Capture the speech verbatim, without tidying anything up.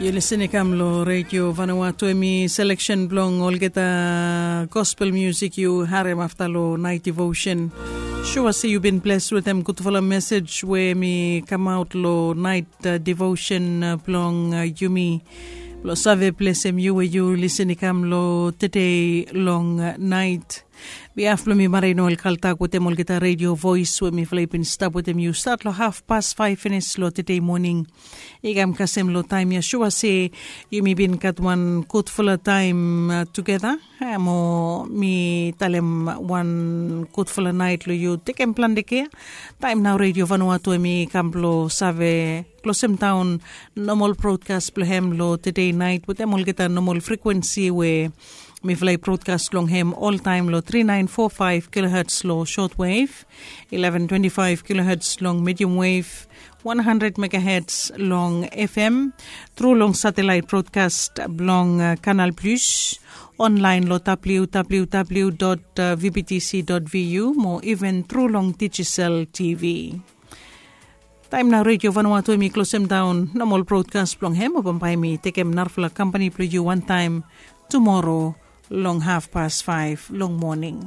Yu lisen i kam long redio Vanuatu, em i seleksen blong olgeta gospel musik yu harem afta long nait devotion. Sua se yu bin bles wetem gudfala mesej we mi kamaot long nait devotion blong yumi blong save blesem yu we yu lisen i kam long tede long nait. Bihaf blong mi marin ol kaltak wetem olgeta redio voes we mifala i bin stap wetem yu stat long haf pas faef finis long tede moning. I kam kasem long taem ya sua se yumi bin gat wan gudfala taem tugeta. Mo mi talem wan gudfala nait long yu, tekem plante kea. Taem nao redio Vanuatu em i kam blong save klosem daon nomal brodkas blong hem long tede nait wetem olgeta nomal frikwensi we mifala i brodkas long hem oltaem long tri naen fo faef kiloherts long shotwave, eleven twenty-five kiloherts long medium wave, one hundred megaherts long F M, tru long satelit brodkas blong Kanal Plus, onlaen long www dot vbtc dot vu mo even tru long Digicel T V. Taem nao redio Vanuatu em i klosem daon nomal brodkas blong hem, o bambae mi tekem narafala kampani blong yu wantaem tumoro long haf pas faef long moning.